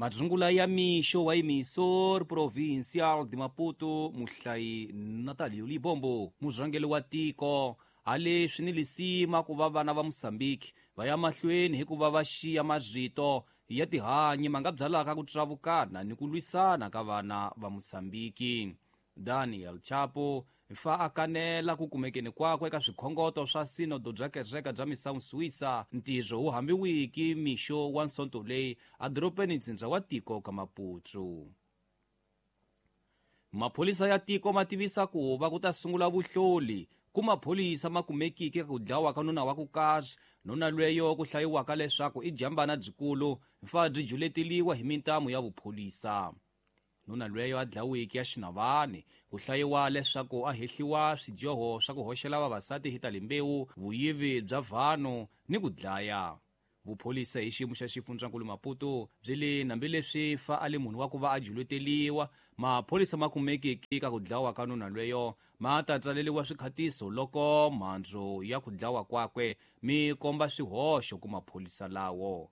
Madzungula ya mixo wa Emissor Provincial de Maputo, muhlayi Natalio Libombo, murhangeri wa tiko, hale swi ni lisima ku va vana va Mozambique va ya mahlweni hi ku va va xiya marito ya tihanyi ma nga byalaka ku travukana ni ku lwisana ka vana va Mozambique. Daniel Chapo fa a kanela ku kumekeni kwakwe eka swikhongoto swa sinodo bya kereke bya Missão Suíça, ntirho wu hambiwiki mixo wa nsonto leyi edorobeni ntsindza wa tiko ka Maputo. Mapholisa ya tiko ma tivisa ku va ku ta sungula vuhloli ku mapholisa ma kumekiki eka ku dlawa ka nuna wa ku karhi, nuna lweyo ku hlayiwaka leswaku i jambana byikulu fa byi juleteliwa hi mintamu ya vupholisa. Nuna lweyo a dlawiki ya xinavani ku hlayiwa leswaku a hehliwa swidyoho swa ku hoxela vavasati hi ta rimbewu, vuyivi bya vanhu ni ku dlaya. Vupholisa hi xiyimo xa xifundzankulu Maputo byi le hambileswi fa a li munhu wa ku va a juleteliwa, mapholisa ma kumekiki ka ku dlawa ka nuna lweyo ma ta tsaleliwa swikhatiso loko mhandzu ya ku dlawa kwakwe mi komba swihoxo ku mapholisa lawo.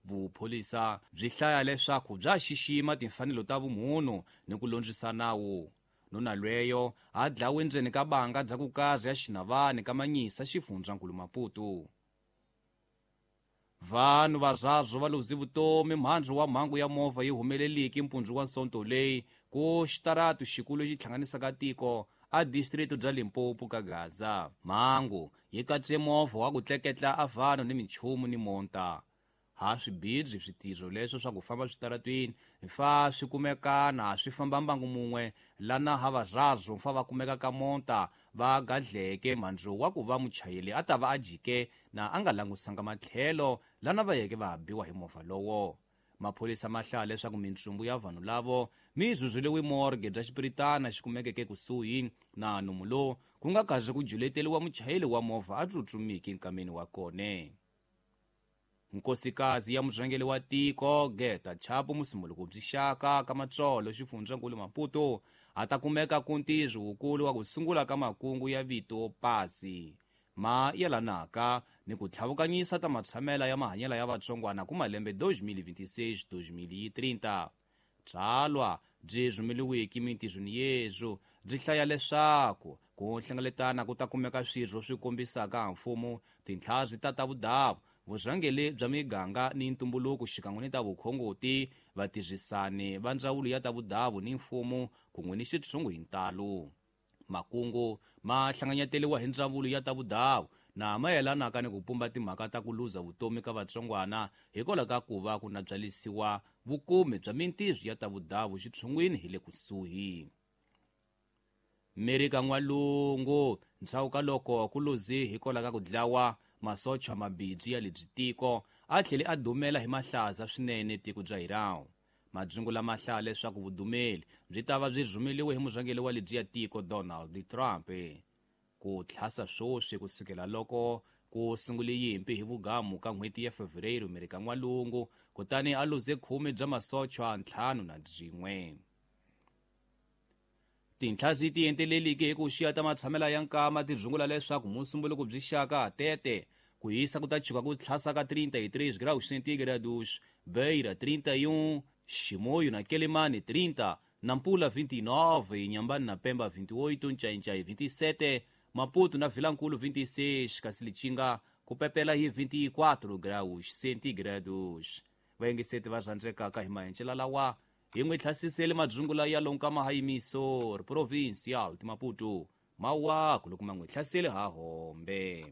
Vupholisa byi hlaya leswaku bya xixima timfanelo ta vumunhu ni ku londzisa nawu. Nuna lweyo a dlawe ndzeni ka banga bya ku karhi ya xinavani ka Manyisa xifundzankulu Maputo. Vanhu varharhu va luze vutomi mhandzu wa mhangu ya movha yi humeleliki mpundzu wa nsonto leyi ku xitaratu xikulu lexi hlanganisaka tiko a district bya Limpopo ka Gaza. Mhangu yi katse movha wa ku tleketla a vanhu ni minchumu ni monta. Ha swibidzi switirho leswo swa ku famba switaratwini fa swi kumekana swi famba mbangu mun'we lana ha varharhu fa va kumeka ka monta va gadleke mhandzu wa ku va muchayeri a ta va a jike na a nga langusanga matlhelo lana va yeke va biwa hi movha lowo. Mapholisa ma hlaya leswaku mintsumbu ya vanhu lavo mi zuzuriwe morgue bya xipiritana xi kumekeke kusuhi na nomu lowu ku nga kazi ku juleteliwa muchayeri wa movha a tsutsumiki nkameni wa kone. Nkosikazi ya murhangeri wa tiko Geta Chapo Musumuluko byi xaka ka Matsolo xifundzankulu Maputo a ta kumeka ku ntirho wukulu wa ku sungula ka makungu ya vito pasi ma yelanaka ni ku tlhavukanyisa ta matshamela ya mahanyelo ya vatsongwana ku malembe 2026-2030. Tsalwa byi rhumeliwiki mintirhweni yezwo byi hlaya leswaku ku hlengeletana ku ta kumeka swirho swi kombisaka mfumo, tintlhazi ta ta vudavu, vurhangeri bya miganga ni ntumbuluko xikan'we ni ta vukhongoti, vatirhisani va ndzawulo ya ta vudavu ni mfumo kun'we ni xitshungu hi ntalo. Makungu ma hlanganyeteliwa hi ndzawulo ya ta vudavu na mayelanaka ni ku pumba timhaka ta ku luza vutomi ka vatsongwana hikwalaho ka ku va ku nabyalisiwa vukumi bya mintirho ya ta vudavu xitshungwini hi le kusuhi. Merika N'walungu ndzhaku ka loko ku luze hikwalaho ka ku dlawa masocha mabindzu ya lebyi tiko a tlhele a dumela hi mahlaza swinene tiko bya Iran. Madzungu lama hlaya leswaku vudumeli byi ta va byi rhumeliwe hi murhangeri wa lebyi ya tiko Donald Trump. Ku tlhasa swoswi kusukela loko ku sungule yimpi hi vugamu ka n'hweti ya Fevereiro Merika N'walungu kutani a luze 10 bya masocha 51. Tintlhazi ti enteleliki hi ku xiya ta matshamela ya nkama ti rungula leswaku musumbuluko byi xaka tete ku hisa ku ta chuka ku tlhasa ka 33 graus centígrados, Beira 31, Chimoio na Quelimane 30, Nampula 29, Inhambane na Pemba 28, Ncaincaí 27, Maputo na Vilankulo 26, kasi Lichinga ku pepela hi 24 graus centígrados. Vayingiseti va rhandzekaka hi mahencela lawa hi n'wi tlhasisele madzungula ya lonkama ha Emissor Provincial de Maputo mawaku loko ma n'wi hlasele ha hombe.